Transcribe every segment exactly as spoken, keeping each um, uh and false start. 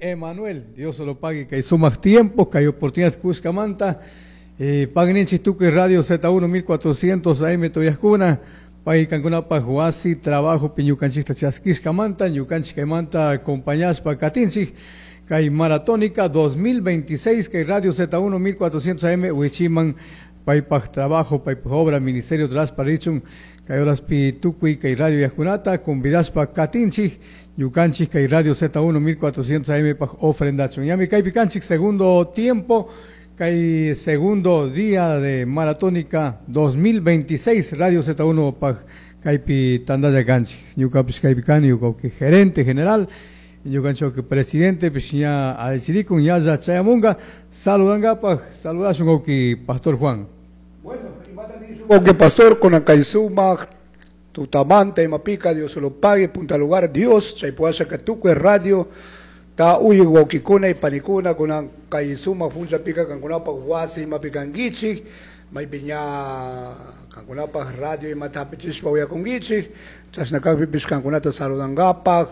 Emanuel, Dios lo pague, kay sumaq tiempo, kay oportunidad kushkamanta, eh, pagninchik tukuy Radio Z uno mil cuatrocientos A M tuyajkuna, pay kankunapaj wasi trabajo pi ñukanchikta chaskishkamanta, ñukanchik kaymanta acompañashpa katinchik, kay Maratónica dos mil veintiséis, kay Radio Z uno mil cuatrocientos A M wichiman, paypaj trabajo, paypaj obra, ministerio trasparichun, kay horaspi tukuy kay radio yajkunata, convidashpa katinchik, ñukanchik kay Radio Z uno mil cuatrocientos A M paj ofrendachun. Ñami kaypi kanchik segundo tiempo, kay segundo día de Maratónica dos mil veintiséis, Radio Z uno paj kaypi tandalla kanchik. Ñukapish kaypi kani, ñuka gerente general, ñukanchik presidente, pish ña alchirikun, ñalla chayamunga, saludangapaj, saludashun wawqi Pastor Juan. Bueno, que pastor con Acaizuma, Tutamanta y Mapica, Dios se lo pague, punta lugar, Dios, Chaypuasha Catuque, radio, ta uy wawqikuna y panikuna, con Acaizuma, Funcha Pica, Cancunapa, Huasi, Mapicanguichi, Maipiña, Cancunapa, radio y Matapichishpa, Uyaconguichi, Chasnacapi, Piscancunata, saludangapa,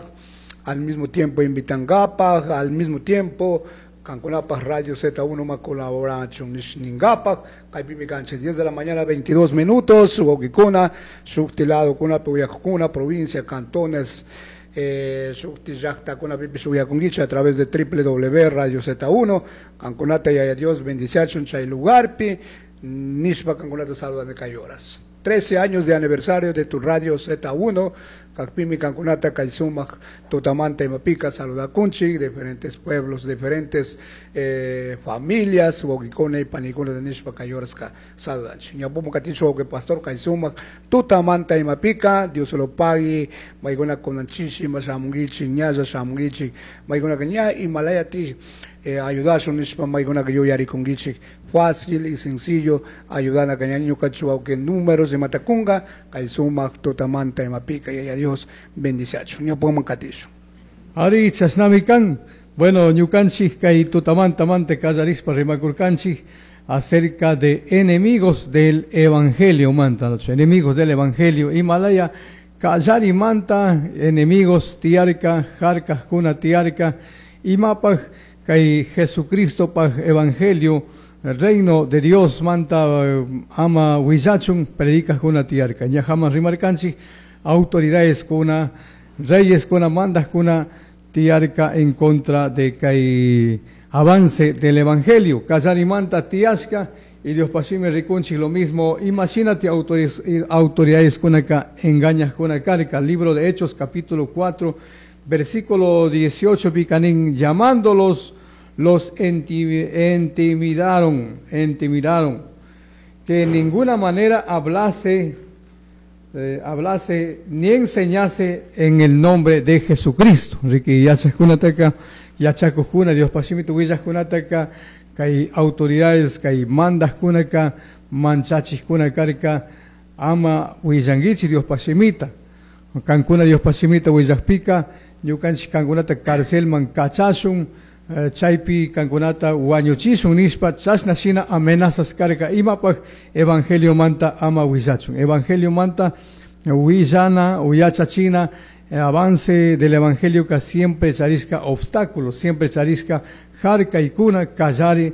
al mismo tiempo invitangapa, al mismo tiempo, Cancunapa Radio Z uno ma colaboración ningapa, kaypimi kanchik diez de la mañana veintidós minutos, wawqikuna, shuktilado kuna, puyakuna, provincia, cantones, eh, shukti llaqtakuna pipis uyakunkichik a través de doble u doble u doble u Radio Z uno, Cancunata yaya Dios bendiciachun chay lugarpi, nishpa Cancunata saludan de cayoras. trece años de aniversario de tu Radio Z uno, Kakpimi Cancunata, Kaisumac, Tutamanta y Mapica, saludakunchik, diferentes pueblos, diferentes, eh, familias, wawqikuna y panikuna de nishpa kayorska, saludanchik. Ñapumu katichu wawqi pastor Kaisumac, Tutamanta y Mapica, Dios lo pague, maiguna konanchishi, mashamungichi, ñalla shamungichi, maiguna caña y malaya ti, eh, ayudashun nishpa maiguna que yo yarikungichik. Fácil y sencillo, ayudar a cañaño cachuau que números de Matacunga, Kaisumac, Tutamanta y Mapica, y a Dios bendiciacho. Ñapumu katichu. Ari chasnamikan, bueno, ñukanchik kay Tutamanta mante kallarispa rimakurkanchik acerca de enemigos del evangelio manta, los enemigos del evangelio, Himalaya, kallari manta, enemigos tiarca, jarcas kuna tiarca, imapaj kay Jesucristo paj evangelio, el reino de Dios manta, ama huillachun, predicas kuna tiarca, ñajama rimarkanchik, autoridades kuna, reyes kuna, mandas kuna tiarca en contra de kay avance del evangelio. Kallari manta tiasca y Dios pasime rikunchik lo mismo. Imagínate autoridades kuna ka engañas kuna carca. Libro de Hechos capítulo cuatro versículo dieciocho, picanín, llamándolos los intimidaron, intimidaron, que en ninguna manera hablase, eh, hablase ni enseñase en el nombre de Jesucristo. Ricky, yachajkunataka, yachakujuna, Dios pasimitu willajkunataka, kay autoridades, kay mandajkunaka, manchachijkunakarka, ama willanguichi Dios pasimita. Kankuna Dios pasimita willajpika, ñukanchik kankunata carcelman kachashun, eh, chaypi kankunata wañuchishun nishpa, chashna shina amenazas karka, imapaj evangelio manta ama willachun. Evangelio manta willana, uyachachina, eh, avance del evangelio que siempre charisca obstáculos, siempre charisca jarka y kuna, kallari